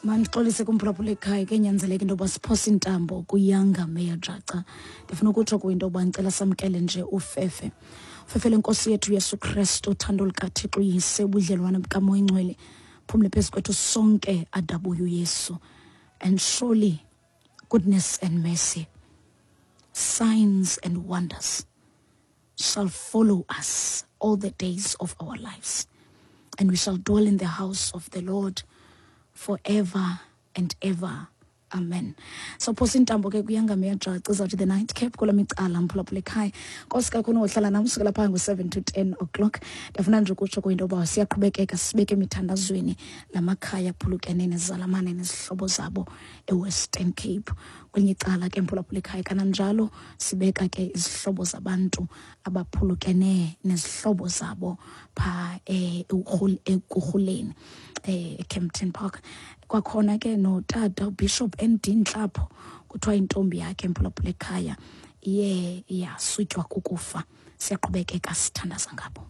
Mandixolise kumphulaphula ekhaya, kenyanzeleka into yoba siphose intambo kuyanga Meya Jaca. Ndifuna ukutsho kuyo into yoba ndicela samkele nje ufefe, ufefe lenkosi yethu Yesu Kristu, uthando lukaThixo uYise, ubudlelwane bukaMoya Ingcwele phumle phezu kwethu sonke adabuye uYesu. And surely goodness and mercy, signs and wonders shall follow us all the days of our lives, and we shall dwell in the house of the Lord forever and ever. Amen. So phosa intambo ke kuyangameya jaca, izawuthi the night cap kula micala. Mphulaphula ekhaya, nkosi kakhulu ngohlala nam sukela phaa ngo-7 to 10 o'clock. Ndiyafuna nje ukutsho kwinto yoba siyaqhubekeka sibeke emithandazweni la makhaya aphulukene nezalamane nezihlobo zabo eWestern Cape. Kwelinye icala ke, mphulaphula ekhaya, kananjalo sibeka ke izihlobo zabantu abaphulukene nezihlobo zabo phaa Ekurhuleni, eKempton Park. Kwakhona ke notata uBishop ND Ntlapho, kuthiwa intombi yakhe, mphulaphula ekhaya, iye yasutywa kukufa. Siyaqhubekeka sithandaza ngabo.